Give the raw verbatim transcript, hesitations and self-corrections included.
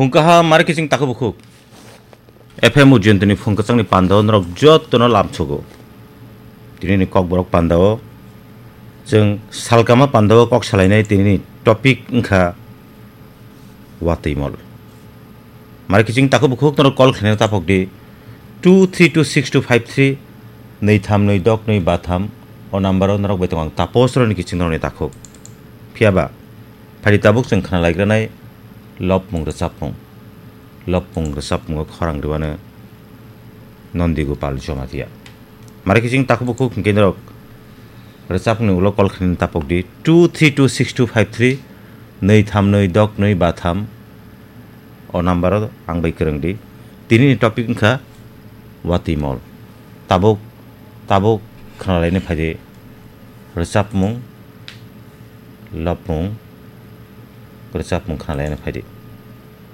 Phung kaham, mari kiching takhuk bukhuk. F M Ujjayantini phung kwchangni pandao norok jotono lamsogo. Tinini kokborok pandao chwng salkama pandao kok salainai, tinini topic wngkha watwi mol. Mari kiching takhuk bukhuk norok call khlaina tapok di two three two six two five three, nwi tham nwi dok nwi ba tham, o number o norok bai tongo ang tapos roni kiching noroni takhuk. Phiyaba, phadi tabuk chwng khna laigranai lopmung rwchapmung. Lopmung rwchapmungo khorang rwano Nondi Gopal Jamatia. Mari kiching takhuk bukhuk hwnkhe norok rwchapmungni ulo call khlaina tapok di two three two six two five three, nwi tham nwi dok nwi ba tham. O number o ang bai kwrwng di. Tinini topic wngkha watwi mol. Tabuk, tabuk khna laina phai di. Rwchapmung, lopmung, rwchapmung khna laina phai di.